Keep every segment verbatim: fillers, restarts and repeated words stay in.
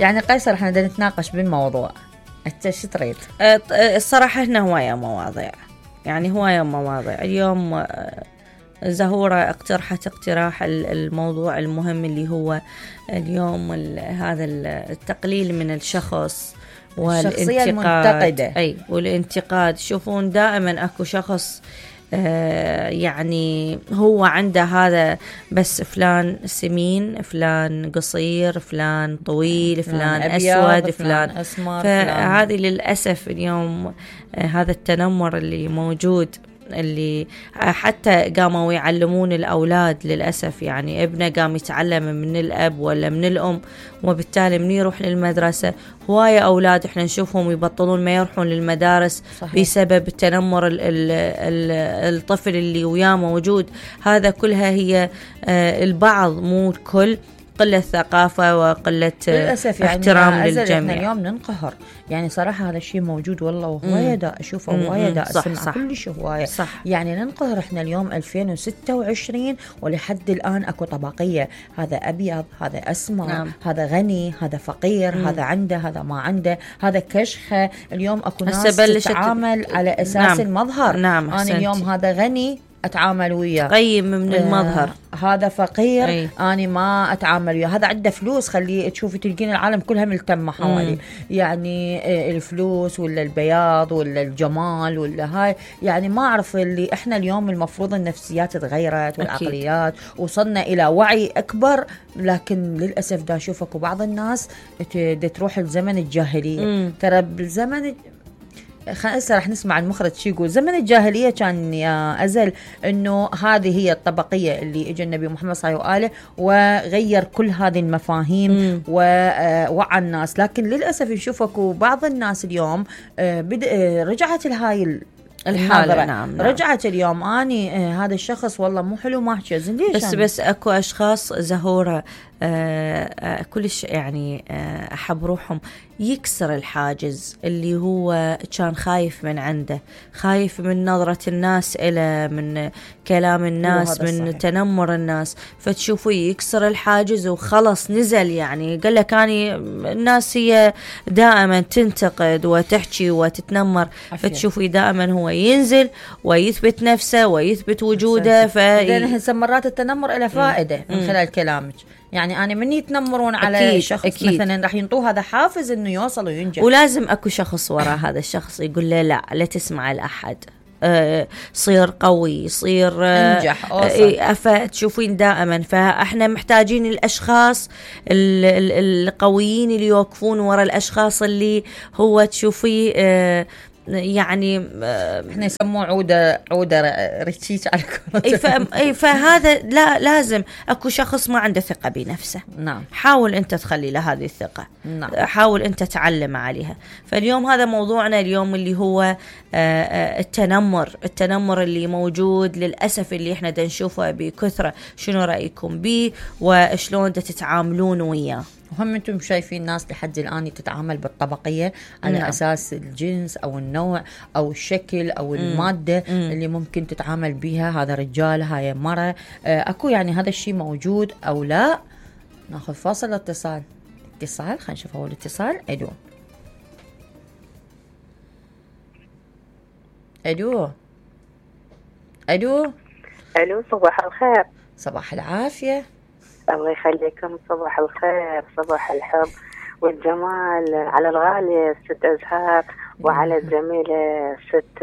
يعني قيصر احنا بدنا نتناقش بالموضوع، انت شو تريد؟ الصراحة هنا هواية مواضيع، يعني هواية مواضيع. اليوم زهورة اقترحت اقتراح الموضوع المهم اللي هو اليوم هذا التقليل من الشخص والشخصية المنتقدة. أي والانتقاد. شوفون دائما أكو شخص آه يعني هو عنده هذا، بس فلان سمين، فلان قصير، فلان طويل، فلان أسود، فلان أسمر. فهذه للأسف اليوم آه هذا التنمر اللي موجود، اللي حتى قاموا يعلمون الأولاد للأسف. يعني ابنه قام يتعلم من الأب ولا من الأم، وبالتالي من يروح للمدرسة هواية أولاد إحنا نشوفهم يبطلون ما يروحون للمدارس. صحيح. بسبب التنمر ال ال ال الطفل اللي وياه موجود. هذا كلها هي البعض مو الكل، قلة ثقافة وقلة احترام يعني للجميع. احنا اليوم ننقهر، يعني صراحة هذا الشيء موجود والله، وهواية دا أشوفه، هواية دا أسمع كل شيء هواية. يعني ننقهر احنا اليوم ألفين وستة وعشرين ولحد الآن أكو طبقية، هذا أبيض، هذا أسمر. نعم. هذا غني، هذا فقير. مم. هذا عنده، هذا ما عنده، هذا كشخة. اليوم أكو ناس تتعامل على أساس نعم. المظهر. نعم. أنا اليوم هذا غني أتعامل وياه، قيم من المظهر. آه هذا فقير أي. أنا ما أتعامل وياه. هذا عنده فلوس، خليه تشوفي تلقين العالم كلها ملتمة حوالي. يعني آه الفلوس ولا البياض ولا الجمال ولا هاي، يعني ما أعرف. اللي إحنا اليوم المفروض النفسيات تغيرت والعقليات، وصلنا إلى وعي أكبر، لكن للأسف دا أشوفك وبعض الناس تروح الزمن الجاهلية. ترى بالزمن هسه راح نسمع المخرج شو يقول. زمن الجاهلية كان يا أزل إنه هذه هي الطبقية اللي إجا النبي محمد صلى الله عليه وآله وغير كل هذه المفاهيم ووعى الناس. لكن للأسف نشوفك وبعض الناس اليوم رجعت لهاي الحالة. نعم. نعم. رجعت اليوم أني آه هذا الشخص والله مو حلو، ما أحكي زين ليش. بس أنا؟ بس أكو أشخاص زهورة آه آه كلش يعني آه أحب روحهم يكسر الحاجز اللي هو كان خايف من عنده، خايف من نظرة الناس إلى، من كلام الناس، من صحيح. تنمر الناس. فتشوفوا يكسر الحاجز وخلص نزل. يعني قال لك أني الناس هي دائما تنتقد وتحكي وتتنمر، فتشوفوا دائما هو ينزل ويثبت نفسه ويثبت وجوده. فإذا مرات التنمر إلى فائدة م. من خلال كلامك. يعني أنا من يتنمرون على أكيد شخص أكيد. مثلا راح ينطوه هذا حافز إنه يوصل وينجح، ولازم أكو شخص وراء هذا الشخص يقول له لا لا تسمع لأحد، أه صير قوي، صير انجح، أه فتشوفين دائما. فاحنا محتاجين الاشخاص القويين اللي يوقفون وراء الاشخاص اللي هو تشوفيه أه يعني احنا يسموه عوده عوده ريتشيش على كرة. اي فهذا لا، لازم اكو شخص ما عنده ثقه بنفسه. نعم. حاول انت تخلي له هذه الثقه. نعم. حاول انت تعلم عليها. فاليوم هذا موضوعنا اليوم اللي هو التنمر التنمر اللي موجود للاسف، اللي احنا دا نشوفه بكثره. شنو رايكم به وشلون دا تتعاملون وياه؟ وهم انتم شايفين ناس لحد الآن تتعامل بالطبقية على نعم. أساس الجنس أو النوع أو الشكل أو المادة مم. اللي ممكن تتعامل بها. هذا رجال، هاي مرة. أكو يعني هذا الشيء موجود أو لا؟ ناخذ فاصل. اتصال اتصال خلينا نشوف أول اتصال. أدو أدو أدو ألو صباح الخير. صباح العافية. الله يخليكم. صباح الخير، صباح الحب والجمال على الغالية ست أزهار، وعلى الجميلة ست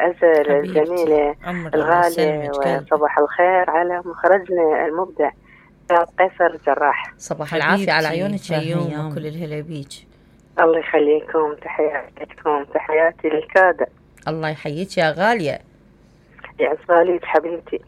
أزل الجميلة الغالية، وصباح الخير على مخرجنا المبدع قيصر جراح. صباح العافية على عيونك يوم وكل الهلا بيك. الله يخليكم. تحياتكم، تحياتي للكادة. الله يحييك يا غالية. يا غالية حبيبتي.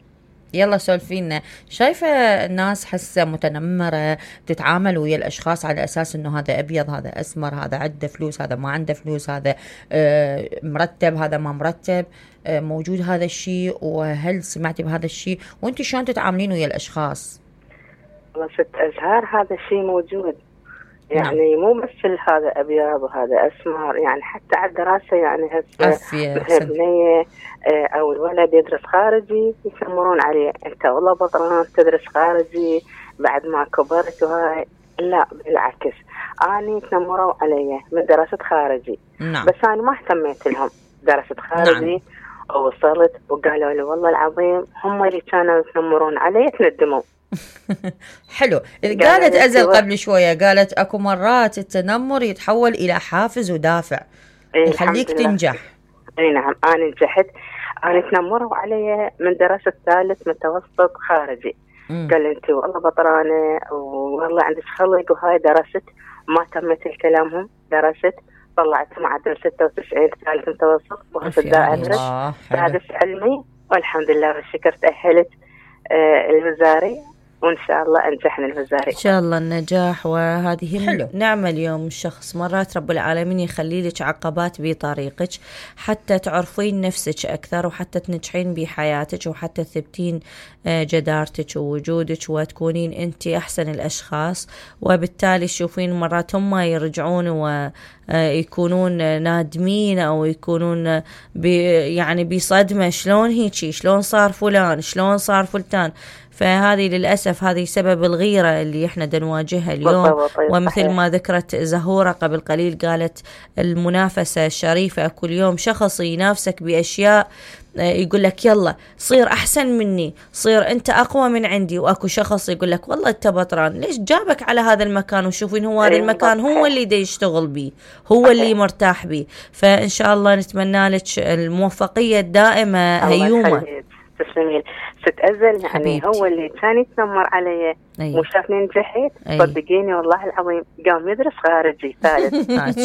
يلا سولفينا. شايفة الناس حسة متنمرة تتعامل ويا الأشخاص على أساس أنه هذا أبيض، هذا أسمر، هذا عنده فلوس، هذا ما عنده فلوس، هذا آه مرتب، هذا ما مرتب. آه موجود هذا الشيء؟ وهل سمعتي بهذا الشيء؟ وانت شلون تتعاملين ويا الأشخاص؟ والله ست أزهار هذا الشيء موجود. يعني نعم. مو بس هذا أبيض وهذا أسمر، يعني حتى على الدراسة. يعني هسه البنية أو الولد يدرس خارجي يسمرون عليه، أنت والله بطران تدرس خارجي بعد ما كبرت وهاي. لا بالعكس، أنا تنمروا علي من درست خارجي. نعم. بس أنا ما اهتميت لهم، درست خارجي. نعم. ووصلت وقالوا لي والله العظيم هم اللي كانوا يتنمرون علي تندموا. حلو. قالت أزل قبل شوية، قالت أكو مرات التنمر يتحول إلى حافز ودافع يخليك تنجح. اي نعم، أنا نجحت. أنا تنمروا علي من درست ثالث متوسط خارجي. مم. قال أنت والله بطرانة والله عندك خلق وهاي. درست ما تمت الكلامهم، درست طلعت معدل ستة وتسعين ثالث متوسط وهسه دا أدرس سادس علمي والحمد لله والشكر. تأهلت آه الوزاري وإن شاء الله أنجحنا الوزاري إن شاء الله النجاح. وهذه حلو. نعمة اليوم الشخص مرات رب العالمين يخلي لك عقبات بطريقك حتى تعرفين نفسك أكثر وحتى تنجحين بحياتك وحتى تثبتين جدارتك ووجودك وتكونين أنت أحسن الأشخاص. وبالتالي تشوفين مرات هم يرجعون ويكونون نادمين أو يكونون بي يعني بصدمة، شلون هيجي، شلون صار فلان، شلون صار فلتان. فهذه للأسف هذه سبب الغيرة اللي احنا دنواجهها اليوم. ومثل ما ذكرت زهورة قبل قليل قالت المنافسة الشريفة، كل يوم شخص ينافسك بأشياء يقول لك يلا صير أحسن مني، صير أنت أقوى من عندي. وأكو شخص يقول لك والله أنت بطران، ليش جابك على هذا المكان وشوفين هو هذا المكان هو اللي دا يشتغل بيه، هو اللي مرتاح بيه. فإن شاء الله نتمنى لك الموفقية الدائمة هيومة. تسلمين ست أزل. يعني حبيبتي. هو اللي كان يتنمر علي وشافني نجحت صدقيني والله العظيم قام يدرس خارجي ثالث.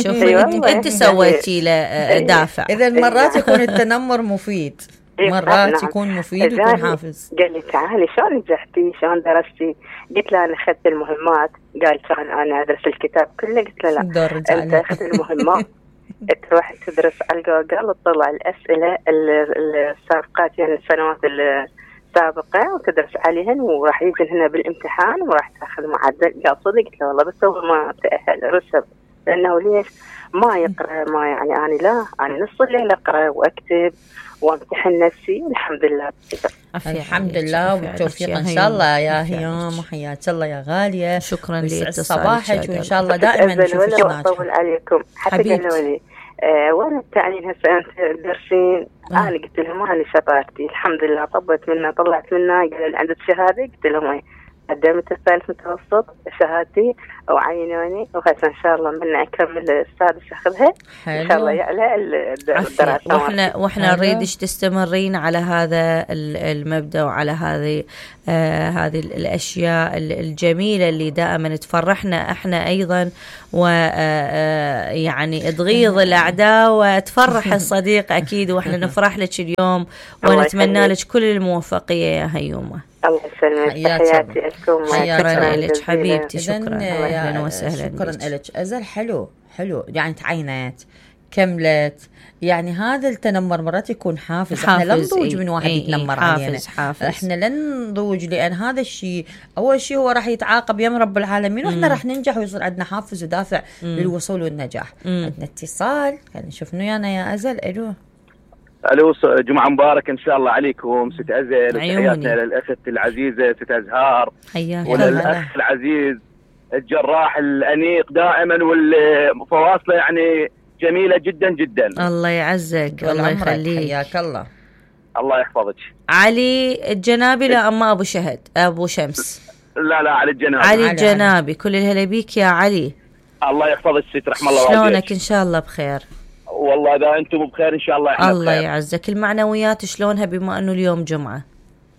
شوفي انت, انت سويتي له دافع. اذا مرات يكون التنمر مفيد، مرات يكون مفيد ويكون حافز. قال لي تعالي شلون نجحتي شلون درستي؟ قلت له انا اخذت المهمات. قال كان انا ادرس الكتاب كله. قلت له لا انت اخذت المهمات تروح تدرس على جوجل وتطلع الأسئلة السابقات يعني السنوات السابقة وتدرس عليهن وراح يجي هنا بالامتحان وراح تاخذ معدل. قال صدق؟ قلت له والله بس هو ما تأهل رسب. لأنه ليش ما يقرأ؟ ما يعني أنا لا أنا نص الليل أقرأ وأكتب وامتحن نفسي والحمد لله. الحمد لله وبالتوفيق ان شاء الله يا هيام. وحياك الله يا غاليه. شكرا لاتصالك وان شاء الله دائما نشوفك ناجحه. اطول عليكم حتى قالوا لي آه وين التعليم هسه انت تدرسين؟ انا قلت لهم انا شطارتي الحمد لله طبت منها طلعت منها. قالوا لي عندك شهاده؟ قلت لهم قدمت الثالث متوسط شهادتي وعينوني وهسه ان شاء الله من اكمل السادس اخذها ان شاء الله يعلى الدراسه. واحنا واحنا نريدش تستمرين على هذا المبدا وعلى هذه آه هذه الاشياء الجميله اللي دائما تفرحنا احنا ايضا ويعني تغيظ الاعداء وتفرح الصديق اكيد. واحنا نفرح لك اليوم ونتمنى لك كل الموفقيه يا هيومه. الله يسلمك. تحياتي لكم. شكرا لك حبيبتي. شكرا اهلا وسهلا. شكرا لك أزل. حلو حلو يعني تعينت كملت. يعني هذا التنمر مرات يكون حافز. احنا لا نضوج من واحد ايه يتنمر ايه علينا. حافز. احنا لن نضوج لان هذا الشيء اول شيء هو راح يتعاقب يم رب العالمين واحنا راح ننجح ويصير عندنا حافز ودافع مم. للوصول والنجاح. مم. عندنا اتصال خلينا نشوف ويانا يا أزل. الو الو جمعه مبارك ان شاء الله عليكم ست أزل. تحياتنا للاخت العزيزه ست أزهار وللاخ العزيز الجراح الانيق دائما والفواصله يعني جميله جدا جدا. الله يعزك والله يخليك. حياك الله. الله يحفظك. علي الجنابي لا اما ابو شهد ابو شمس؟ لا لا علي الجنابي. علي الجنابي. كل الهلا بيك يا علي. الله يحفظك ست رحم الله والديك. شلونك؟ ان شاء الله بخير. والله اذا انتم بخير ان شاء الله احنا الله بخير. يعزك. المعنويات شلونها بما انه اليوم جمعه؟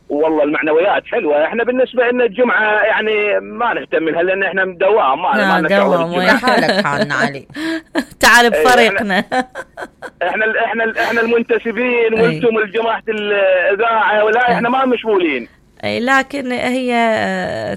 والله المعنويات حلوه. احنا بالنسبه لنا الجمعه يعني ما نهتم لها لان احنا دوام ما ما دوام. وين حالك حالنا علي؟ تعال بفريقنا. احنا احنا احنا المنتسبين وانتم الجماعه الاذاعه ولا احنا ما مشغولين. اي لكن هي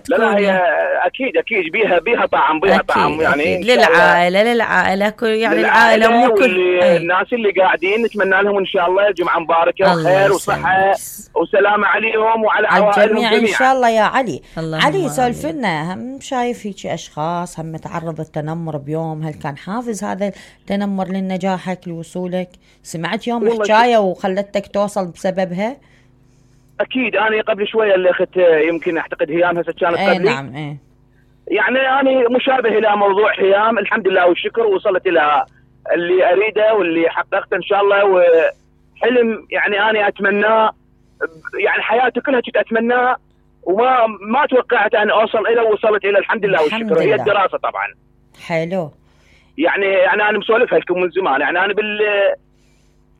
تكون لا لا هي اكيد اكيد بيها بيها طعم بيها أكيد طعم يعني للعائله للعائله كل يعني العائله مو كل الناس اللي قاعدين نتمنى لهم ان شاء الله جمعه مباركه وخير وصحه وسلامه عليهم وعلى عوائلهم جميعا ان شاء الله يا علي. علي سولف لنا. هم شايف هيك اشخاص هم تعرض التنمر بيوم، هل كان حافز هذا التنمر لنجاحك لوصولك؟ سمعت يوم حكايه وخلتك توصل بسببها؟ اكيد انا قبل شويه اللي اخت يمكن اعتقد هيام هسه كانت قبلي. نعم ايه يعني انا مشابه الى موضوع هيام، الحمد لله والشكر، وصلت الى اللي اريده واللي حققته ان شاء الله، وحلم يعني انا اتمناه، يعني حياتي كلها كنت اتمناه وما ما توقعت ان اوصل الى، وصلت الى الحمد لله والشكر. هي الدراسه طبعا. حلو. يعني يعني انا مسولفها لكم من زمان، يعني انا بال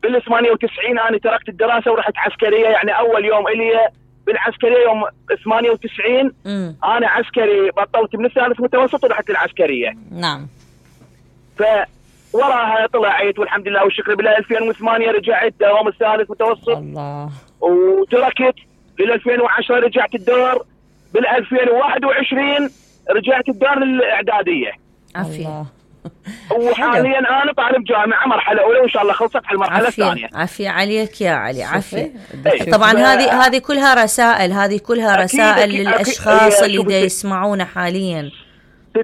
بال ثمانية وتسعين انا تركت الدراسه ورحت عسكريه، يعني اول يوم الي بالعسكريه يوم ثمانية وتسعين م. انا عسكري، بطلت من الثالث متوسط ورحت العسكريه. نعم. ف وراها طلعت والحمد لله والشكر بالله. ألفين وثمانية رجعت دوام الثالث متوسط. الله. وتركت بال ألفين وعشرة رجعت الدور، بال ألفين وواحد وعشرين رجعت الدار الاعداديه. عافيه. وحاليا انا طالب جامعه مرحله اولى وان شاء الله خلصت على المرحله الثانيه. عافيه عليك يا علي، عافيه. طبعا هذه هذه كلها رسائل، هذه كلها رسائل أكيد للاشخاص أكيد اللي دا يسمعونا حاليا.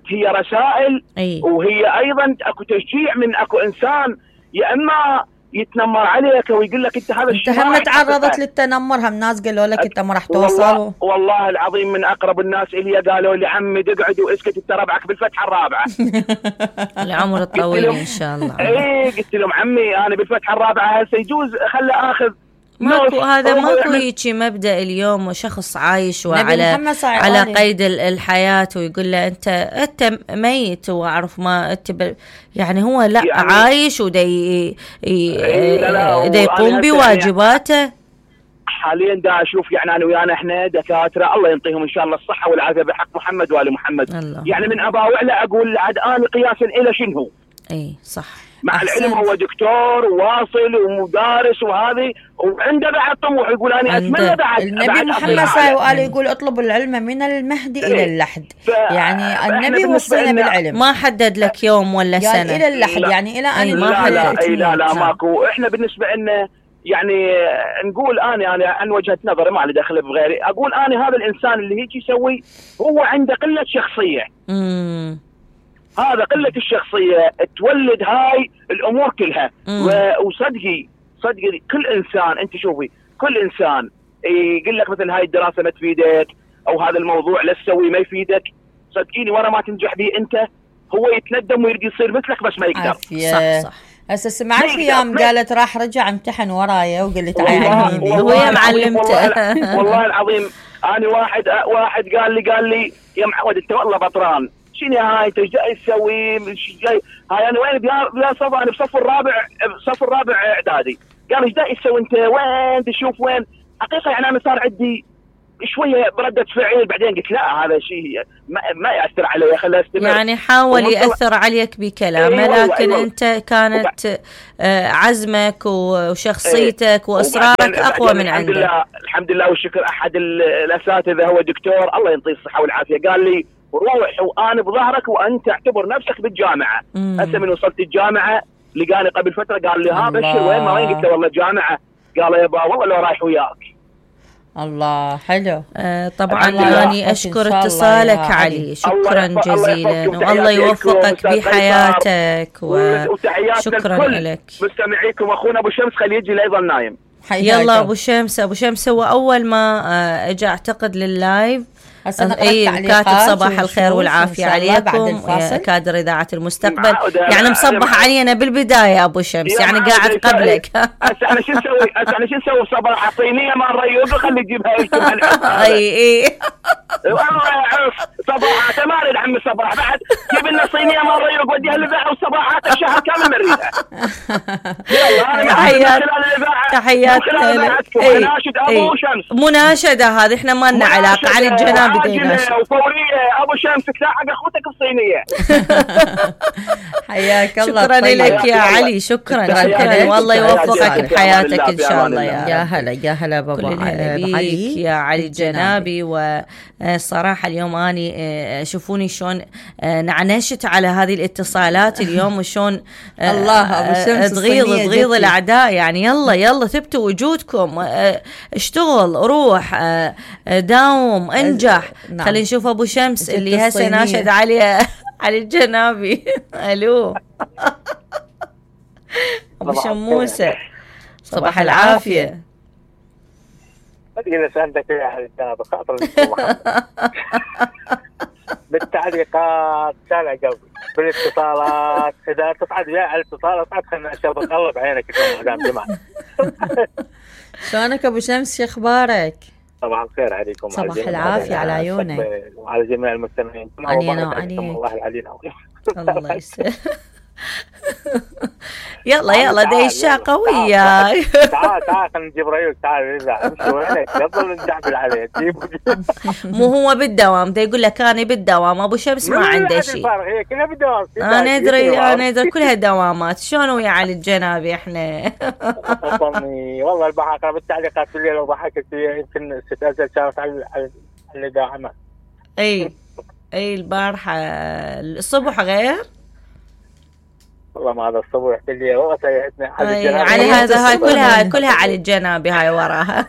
هي رسائل أي. وهي ايضا اكو تشجيع من اكو انسان، يا اما يتنمر عليك ويقول لك انت هذا الشيء. انت هم تعرضت للتنمر؟ هم ناس قالوا لك انت ما راح توصل؟ والله, والله العظيم من اقرب الناس الي قالوا لي عمي اقعد واسكت انت ربعك بالفتحه الرابعه. العمر الطويل ان شاء الله. اي قلت لهم عمي انا بالفتحه الرابعه هسه يجوز خلي اخذ ماكو هذا ماكو هيجي مبدأ اليوم شخص عايش وعلى على قيد الحياة ويقول له انت انت ميت واعرف ما انت يعني هو لا يعني عايش ودي دا يقوم بواجباته. حاليا دا اشوف يعني انا ويانا احنا دكاتره الله ينطيهم ان شاء الله الصحه والعافيه بحق محمد وال محمد الله. يعني من اباوع له اقول عاد انا قياسا الى شنو. اي صح. مع أحسن. العلم هو دكتور وواصل ومدارس وهذه وعنده بعد طموح، يقول انا اتمنى بعد. النبي محمد صلى الله عليه يقول اطلبوا العلم من المهد إيه؟ الى اللحد. يعني النبي وصينا بالعلم، ما حدد لك يوم ولا سنه يعني الى اللحد لا. يعني الى ان ما حدد. لا لا, لا, لا ماكو. احنا بالنسبه لنا يعني نقول انا انا عن وجهه نظري ما لي دخل بغيري، اقول انا هذا الانسان اللي هيك يسوي هو عنده قله شخصيه. امم هذا قلة الشخصية تولد هاي الأمور كلها. وصدقي صدقي كل إنسان أنت شوفي كل إنسان يقول لك مثل هاي الدراسة ما تفيدك أو هذا الموضوع لا تسوي ما يفيدك، صدقيني ورا ما تنجح به أنت هو يتندم ويريد يصير مثلك بس ما يقدر. صح صح. هسه سمعت في يوم قالت راح رجع امتحن ورايا وقلت عيني هو يا معلمته. والله, والله العظيم أنا واحد واحد قال لي قال لي يا معود أنت والله بطران، شنو هاي انت ايش جاي تسوي؟ هاي انا وين بلا صف انا بصف الرابع بصف الرابع اعدادي. قال ايش جاي تسوي انت؟ وين تشوف وين؟ حقيقه يعني انا صار عندي شويه برده فعل، بعدين قلت لا هذا شيء ما, ما ياثر علي خليه استمر. يعني حاول ياثر عليك بكلامه أيوة لكن أيوة. انت كانت آه عزمك وشخصيتك واصرارك اقوى من عندك. الحمد لله الحمد لله والشكر. احد الاساتذه هو دكتور الله يعطيه الصحه والعافيه قال لي روح وانا بظهرك وانت اعتبر نفسك بالجامعه. هسه من وصلت الجامعه لقاني قبل فتره قال لي ها بشر وين ما وين؟ قلت له والله جامعه. قال يا با والله لو رايح وياك. الله حلو. آه طبعا اني اشكر اتصالك علي، شكرا جزيلا والله يوفقك بحياتك وشكرا لك. مستمعيكم اخونا ابو شمس خليه يجي لا يظل نايم. يلا ابو شمس. ابو شمس هو اول ما اجى اعتقد لللايف اي كاتب صباح الخير والعافيه عليكم كادر اذاعه المستقبل، يعني مصبح علينا بالبدايه ابو شمس يعني قاعد قبلك. هسه انا شو نسوي؟ هسه انا شو نسوي صباح صينيه مال ريوق خلي يجيبها لكم. اي اي والله عرف صباحات ما اريد عمي صباح بعد جيب لنا صينيه مال ريوق وديها الاذاعه وصباحات الشهر كامل نريدها. تحيات تحياتنا لك. مناشد ابو شمس مناشده هذه احنا ما لنا علاقه على الجناب وفوريه ابو شمس تلاحق اخوتك الصينيه. حياك الله. شكرا لك يا علي. شكرا شكرا والله يوفقك بحياتك ان شاء الله. يا هلا يا هلا بابا علي يا علي الجنابي. وصراحه اليوم اني شوفوني شلون نعنشت على هذه الاتصالات اليوم وشلون الله ابو شمس تغيظ تغيظ الاعداء. يعني يلا يلا ثبتوا وجودكم، اشتغل روح داوم انجح. نعم. خلينا نشوف ابو شمس اللي هسه ناشد علي علي الجنابي. الو ابو شموسه صباح العافيه. ما تقدر سالتك يا اهل الجنابي خاطر بالتعليقات كان عقب بالاتصالات اذا تصعد وياي على الاتصال تصعد خلنا اشربك الله بعينك يا مدام جماعه. شلونك ابو شمس؟ شو اخبارك؟ صباح الخير عليكم. صباح العافيه على عيونك وعلى جميع المستمعين. علينا وعليك. الله العلي العظيم. الله يسلمك. يلا يلا ديشة قوية. تعال تعال خلينا نجيب ريوك. تعال نرجع امشي وينك قبل نجعبل عليه. مو هو بالدوام ده يقول لك انا بالدوام ابو شمس ما عنده شيء. هي كلها بالدوام. انا ادري انا ادري كلها دوامات. شلون ويا علي الجنابي احنا؟ والله البحاقة بالتعليقات بالليل وضحكت يمكن ست أزل كانت على على داعمة. اي اي البارحة الصبح غير. والله ما هذا الصبح اللي والله سيئتنا على هذا هاي كلها كلها على الجنابي هاي وراها.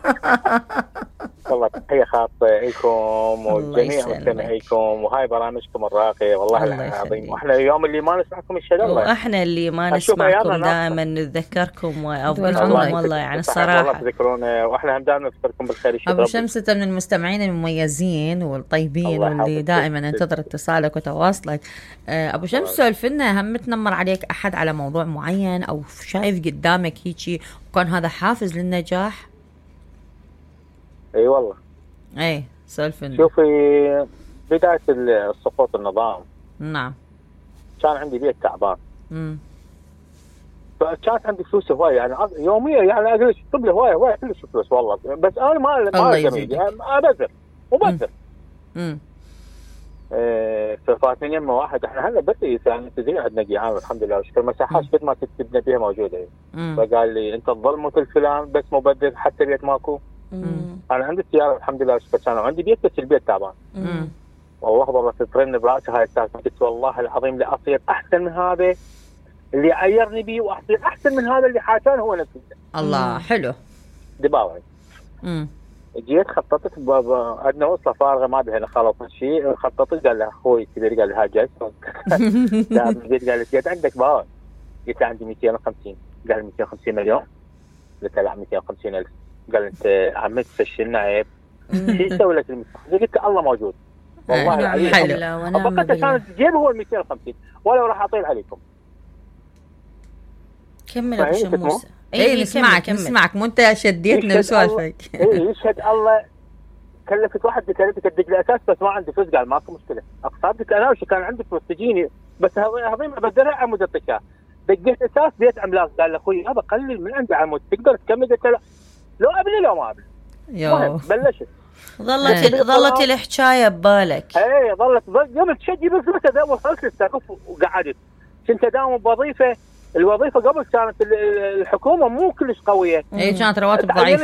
والله تحية خاصة لكم وجميع مستمعيكم وهاي برامجكم الراقية والله العظيم. واحنا اليوم اللي ما نسمعكم ان شاء الله. واحنا اللي ما نسمعكم دائما نتذكركم وافضلكم والله يعني الصراحة. والله تذكرونا واحنا هم دائما نذكركم بالخير. ابو شمس انت من المستمعين المميزين والطيبين واللي دائما ننتظر اتصالك وتواصلك. ابو شمس سولف لنا، هم تنمر عليك احد على موضوع معين او شايف قدامك هيجي وكان هذا حافز للنجاح؟ اي والله. اي سولف لنا. شوفي بداية السقوط النظام نعم كان عندي بيت تعبان. امم فكانت عندي فلوس هواية يعني يوميا يعني اجلس اكتب لي هواية هواية كلش فلوس والله. بس انا ما ما جميل يعني ابذر وبذر. امم ايه ففاتني يمه واحد احنا هلا بس يعني تدري عندنا جيعان الحمد لله وشكر مساحات قد ما تكتبنا بيها موجوده. فقال لي انت تظل مثل فلان بس مبذر حتى بيت ماكو. مم. انا عندي سياره الحمد لله وشكر سنه وعندي بيت بس البيت تعبان. والله والله تترن براسي هاي السالفه. قلت والله العظيم لاصير احسن من هذا اللي عيرني بيه واصير احسن من هذا اللي حاشان هو نفسه. الله حلو. دباوي. امم جيت خططت عندنا وصله فارغه ما بها خلص شيء. خططت قال له اخوي كبير قال لي ها جاي. لا جيت قال لي جيت عندك باور. قلت له عندي مئتين وخمسين. قال لي مئتين وخمسين مليون. قلت له لا مئتين وخمسين ألف. قال انت عملت فشلنا عيب. شو اسوي لك المئتين؟ قلت له الله موجود والله العظيم. حلو. فقط كانت جيبه هو ال مئتين وخمسين ولا راح اطيل عليكم. كمل ابو شموس. اي نسمعك نسمعك مو انت شديتنا بسوالفك. اي يشهد الله كلفت واحد بكلفتك ادق الاساس بس ما عندي فلوس. قال ماكو مشكله اقصادك انا وش كان عندي فلوس تجيني بس هضيم ابدلها عمود الطشاء. دقيت اساس بيت عملاق. قال له اخوي هذا قلل من عندي عمود تقدر تكمل. قلت له لو ابني لو ما ابني. المهم بلشت ظلت ظلت الحكايه ببالك. اي ظلت قبل تشجي بالفلوس وصلت للسقف وقعدت. كنت اداوم بوظيفه. الوظيفه قبل كانت الحكومه مو كلش قويه. اي كانت رواتب ضعيفه.